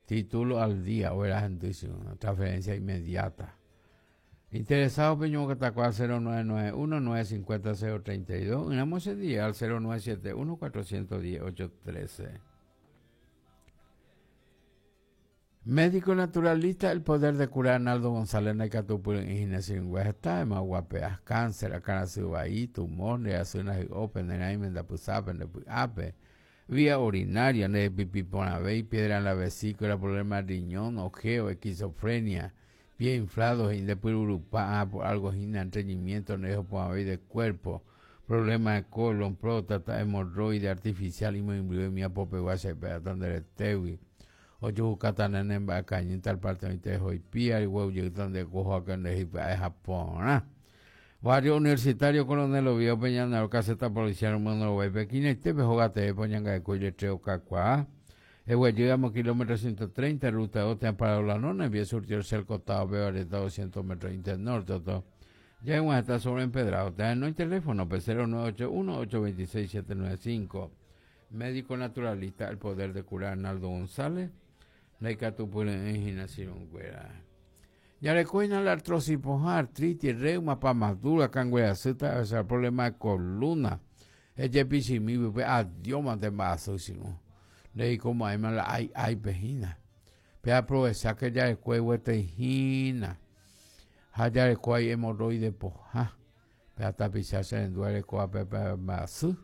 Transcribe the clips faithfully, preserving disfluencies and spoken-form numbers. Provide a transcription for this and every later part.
Título al día, o era transferencia inmediata. Interesado peñomongetakuaa cero nueve nueve uno, nueve cincuenta, cero treinta y dos, ỹramo ese día al cero nueve siete uno, cuatrocientos diez, ocho trece. Médico naturalista, el poder de curar Arnaldo González Naikatupuri en Ginés está en Maguapeas, cáncer, acarasubaí, tumor, neasunas y open, nenaimenda pusape, nepuape, vía urinaria, nepipiponavei, piedra en la vesícula, problema de riñón, ojeo, esquizofrenia, pie inflado, indepururupa, por algo sin entreñimiento, nejoponavei de cuerpo, problema de colon, próstata, hemorroide artificial, y muy mi apope, guasa, peatanderetewi. Ocho katanene mbacañi tal parte de tejo y pía y huevo llegan de cojo acá en Egipto a Japón. Barrio Universitario Coronel Oviedo Peñanaro, caseta policial número nueve, Pekín, este pejogate, Poñanga de Cuyo, Treo, Cacuá. El llegamos kilómetro ciento treinta, ruta dos, te han parado la nona, envía surtió el costado, veo areta doscientos metros internorte, todo. Ya en está sobre empedrado, no hay teléfono, P cero nueve ocho uno, ocho veintiséis, siete nueve cinco. Médico naturalista, el poder de curar Arnaldo González. Ya le coina la artrosis, artritis, reuma, pa más dura, cangüea, zeta, o sea, problema de columna. Ella pichimi, pues, adiós, mate vaso, si no. Le di como ahí, la ay, ay, pejina. Pero aprovechar que ya el cuello tejina. Ya el cuello hemorroide, poja. Pero hasta pisarse en duele, coa, pepe, vaso.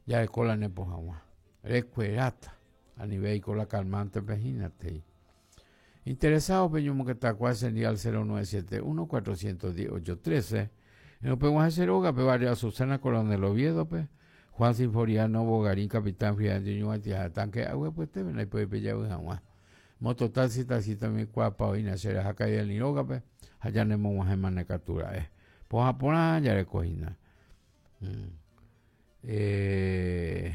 Ya el cola ne poja, recuerata. A nivel con la calmante pejínate. Interesado, Peño Moquetacua, sería al cero nueve siete uno, cuatrocientos diez, ocho trece. En Open Ceroga, pe barrio Azucena, Coronel Oviedo, pe Juan Sinforiano, Bogarín, Capitán Fidel, Ñuñoa, Tanque, Agua, pues te ven ahí, pues, pe, ya, pues, agua. Mototaxi, taxi, también, cuapa, oina, será, jaca, y el Niroga, pe, allá nemo, guajema, necatura, eh. Pues, japona, ya le cogina. Mm. Eh,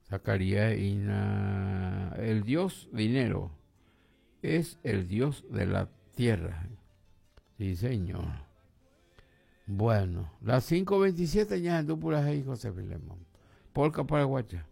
Zacarías Ina, el dios dinero es el dios de la tierra. Sí, señor. Bueno, las cinco veintisiete ya en Dúpulas y José Filemón. Polka paraguaya.